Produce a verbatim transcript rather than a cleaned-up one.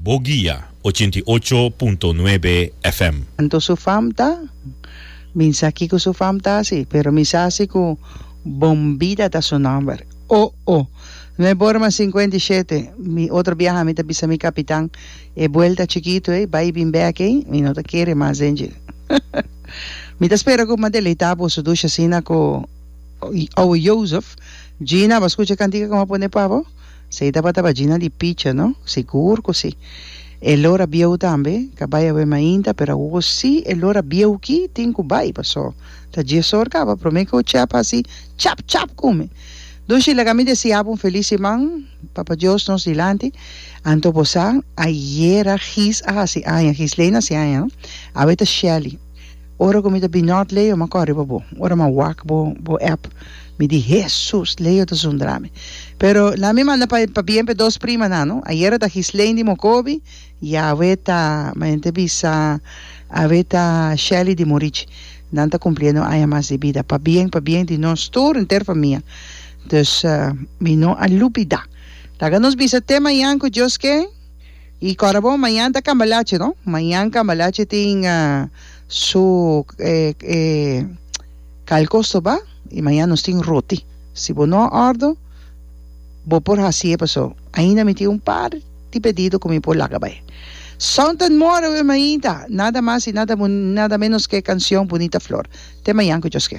Boguia ochenta i ocho punto nuebe F M. Anto su fam ta? Mi sa kiko su fam ta hasi, pero mi sa si ku Bombida ta su nòmber. O o! Nuebe ora mas sinkuenta i shete. Mi otro biaha mi ta bisa mi kapitan, e buelta chikitu ei, bai bin bèk ei, mi no ta kere mas den dje. Mi ta spera ku mi a deleitá boso dushi asina ku Ouwe Jozef. Gina, bo a skucha e kantika ku mi a pone pa bo? Esei tabata pa Gina di picha, no? Sigur ku si. E lora bieu tambe ka bai awe mainta, pero awor si e lora bieu ki tin ku bai, paso ta dies or kaba prome ku Chep hasi chap chap ku mi. Dushi, laga mi deseá bo un felis siman, Papa Dios nos dilanti. Anto bo sa, ayera Gis a hasi aña, Gisleyne hasi aña, no? Awe ta Shelly. Ora ku mi ta binòt Leo, m'a kòre riba bo. Ora m'a wak bo bo app, mi di, Hesus, Leo ta zundra mi. Pero laat mi manda pa pabien p'e dos primanan, no. Ayera ta Gislaine di Mocobi i awe ta, manera ta bisa, awe ta Shelly di Morichi. Nan ta kumpliendo aña mas di bida. Pabien, pabien di nos tur, henter famia. Dus, mi no a lubidá. Laga nos bisa te mañan ku Dios ke. I kòrda bon, mañan ta Cambalache, no? Mañan Cambalache tin su e kalkosto ba i mañan nos tin roti. Si bo no a òrdu, bo por hasié paso ainda mi tin un par di pedido ku mi por laga bai. Something more awe mainta, nada mas i nada nada menos ke e kansion Bunita Flor. Te mañan ku Dios ke.